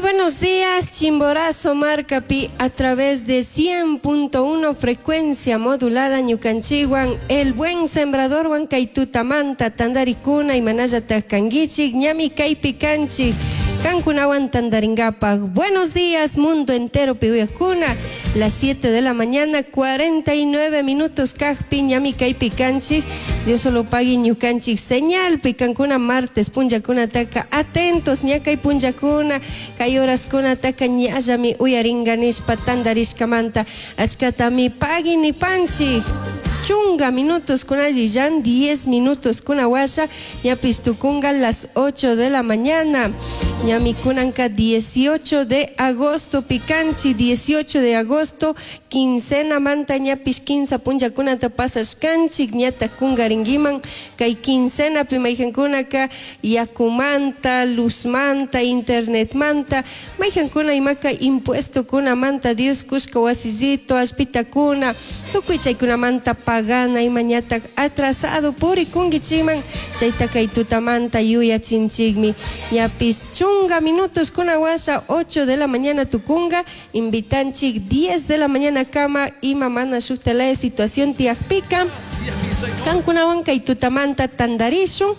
Muy buenos días, Chimborazo Marcapi, a través de 100.1 frecuencia modulada ñukanchikwan, El Buen Sembrador kay tutamanta, tandarikuna imashinalla kanguichik, ñami kaypi kanchik, kankunawan tandaringapaj. Buenos días, mundo entero pi uyajkuna, las 7 de la mañana, 49 minutos kajpi, ñami kaypi kanchik, Dios solo pagui ñukanchik señal, pi kankuna martes punllakunataka atentos, ña kay punllakuna, kay horaskunataka ñallami uyaringa nishpa tandarishkamanta, achkatami pagui nipanchik. Chunga minutos kunalli 10 minutos kuna washa, ñapish tukunga las 8 de la mañana. Ñami kunanka 18 de agosto, pikanchik 18 de agosto, quincena manta ñapish 15 punllakunata pasashkanchik, ñata kungaringuiman, kay quincena pi mayjankunaka yakumanta, luzmanta, internetmanta, mayjankuna imaka impuesto kunamanta, Dios kushka wasillito, allpitakuna, tukuy chaykunamanta pagana ima ñatak atrasado purikunguichikman, chayta kay tutamanta yuyachinchikmi. Ñapish chunga minutos kuna washa 8 de la mañana tukunga, invitanchik 10 de la mañana kama ima mana shuktalaya situación tiyakpika. Kankunawan kay tutamanta tandarishun,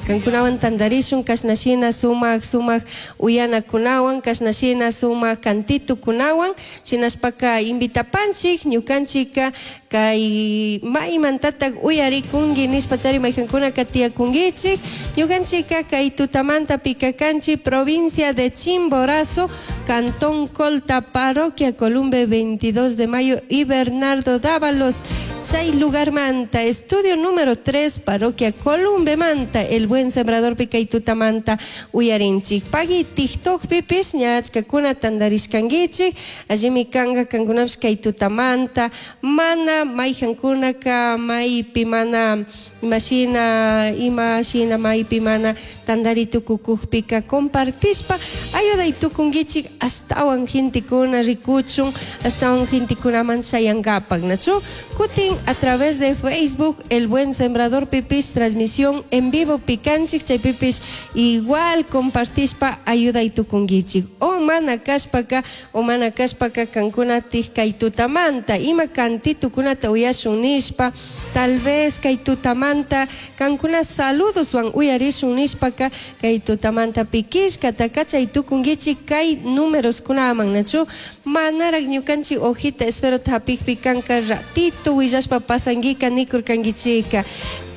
kankunawan tandarishun kashnashina sumak sumak uyanakunawan, kashnashina sumak kantitukunawan, shinashpaka invitapanchik ñukanchika kay maymantatak uyarikunki nishpa chari mayjankunaka tiyakunkichik, ñukanchika kay tutamanta pikakanchik provincia de Chimborazo, Cantón Colta, Parroquia Columbe, 22 de mayo y Bernardo Dávalos, chay lugar manta, estudio número 3, Parroquia Columbe manta, El Buen Sembrador pi kay tutamanta uyarinchik. Pagui TikTok pipish ña achkakuna tandarishkankichik, allimi kanga kankunapish kay tutamanta, mana mayjankunaka maypi mana imashina imashina maypi mana tandari tukukukpika compartishpa ayuday tukunkichik ashtawan gentekuna rikuchun, ashtawan gentekunaman chayankapak, nachu? Kutin a través de Facebook, El Buen Sembrador pipish transmisión en vivo pikanchik, chaypipish igual compartishpa ayuday tukunkichik. O mana kashpaka, o mana kashpaka kankuna kay tutamanta, ima kantitukunata uyashun nishpa, tal vez kay tutamanta kankuna saludoswan uyarishun nishpaka kay tutamanta pikishkata kachay tukunkichik kay números kunaman, nachu? Manarak ñukanchik hojita espero hapikpi kanka ratito willashpa pasanguika nikurkankichika.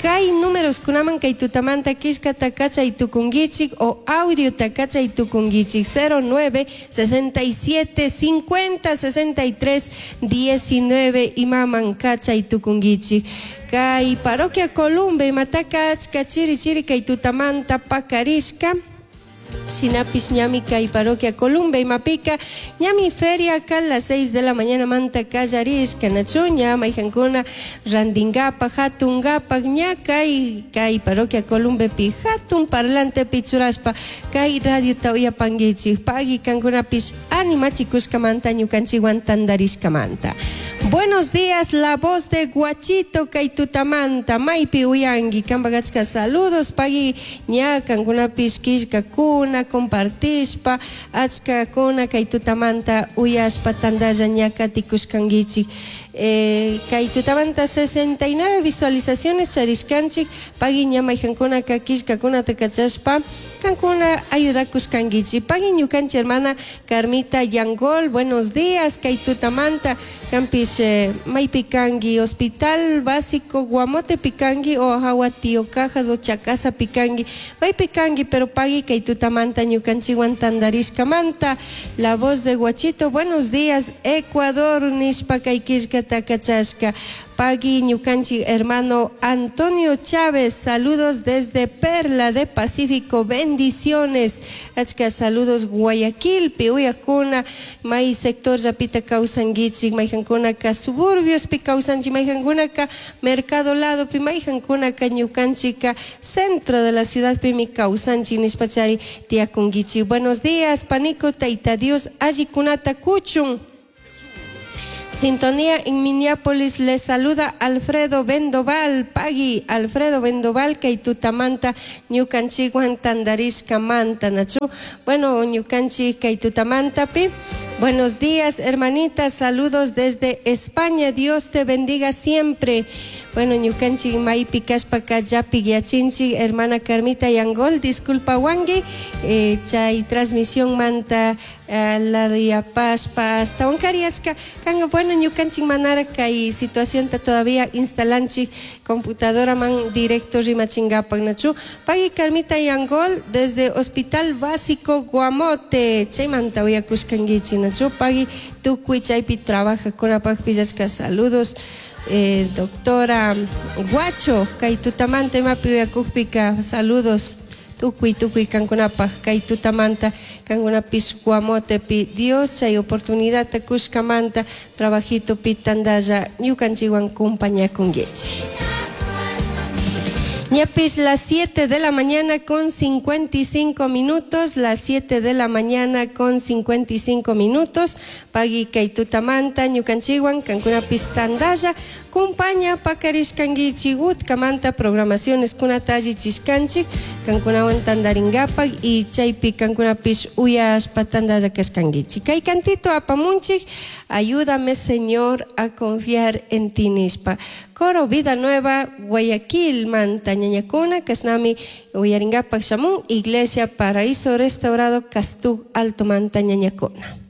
Kay números kunaman kay tutamanta kishkata kachay tukunkichik o audio kachay tukunkichik 09 67 50 63 19 imaman kachay tukunkichik. Kay parroquia Columbe imataka achka chiri chiri kay tutamanta pakarishka. Shinapish ñami kay parroquia Columbe imapika ñami feria ka las 6 de la mañana manta kallarishka nachu ña mayjankuna randingapak hatungapak ña kay kay parroquia Columbe pi hatun parlante pi churashpa kay radiota uyapankichik pagui kankunapish animachikushkamanta ñukanchikwan tandarishkamanta. Buenos días, la voz de Guachito kay tutamanta maypi uyanki kanpak achka saludos pagui ña kankunapish killkakuna compartishpa achkakuna kay tutamanta uyashpa tandalla ña katikushkankichik. Kay tutamanta 69 visualizaciones charishkanchik pagui ña mayjankunaka killkakunata kachashpa kankuna ayudakushkankichik. Pagui ñukanchik hermana Carmita Yangol, buenos días kay tutamanta kanpish maypi kanki hospital básico Guamote pikanki o hawa Tío Cajas o Chacasa pikanki maypi kanki pero pagui kay tutamanta ñukanchikwan tandarishkamanta. La voz de Guachito, buenos días Ecuador nishpa kay killkata kachashka. Pagui ñukanchik hermano Antonio Chávez, saludos desde Perla de Pacífico, bendiciones. Achka saludos Guayaquil, pi uyakuna, may sector llapita kawsankichik, mayjankunaka suburbios pi kawsanchik, mayjankunaka mercado lado pi mayjankunaka ñukanchika centro de la ciudad pi mi kawsanchik nishpachari tiyakunkichik. Buenos días, panico, taita Dios, allikunata kuchun. Sintonía en Minneapolis les saluda Alfredo Vendoval, Pagui Alfredo Vendoval, kay tutamanta ñukanchikwan tandarishka manta, nachu. Bueno, ñukanchik kay tutamantapi. Buenos días, hermanita, saludos desde España. Dios te bendiga siempre. Bueno, ñukanchik maypi kashpaka llapi yachinchik, hermana Carmita Yangol, disculpa wangi, chay transmisión manta la yapashpa hasta wankariachka kanga. Bueno, ñukanchik manara kay situacionta todavía instalanchik computadora man directo rimachingapak, nachu. Pagui Carmita Yangol desde Hospital Básico Guamote, chaymanta uyakushkankichik, nachu. Pagui tukuy chaypi trabajakunapaq pillachka, saludos. Doctora Guacho, kay tutamanta imapi uyakukpika, saludos tukuy tukuy kankunapaq kay tutamanta kankunapish Guamotepi Dios chay oportunidad kushkamanta trabajitopi tandalla ñukanchikwan kumpañakunkichik. Ñapis las 7 de la mañana con 55 minutos, las 7 de la mañana con 55 minutos. Pagui kay tutamanta ñukanchikwan kankunapis tandalla kumpaña pakarishkankichik utkamanta programaciones kunata allichishkanchik kankunawan tandaringapak y chaypi kankunapis uyashpa tandalla kashkankichik. Kay cantito apamunchik, ayúdame Señor a confiar en ti nishpa. Coro Vida Nueva, Guayaquil, manta ñañakuna, kashnami uyaringapak shamun, Iglesia Paraíso Restaurado, Castug, Alto manta ñañakuna.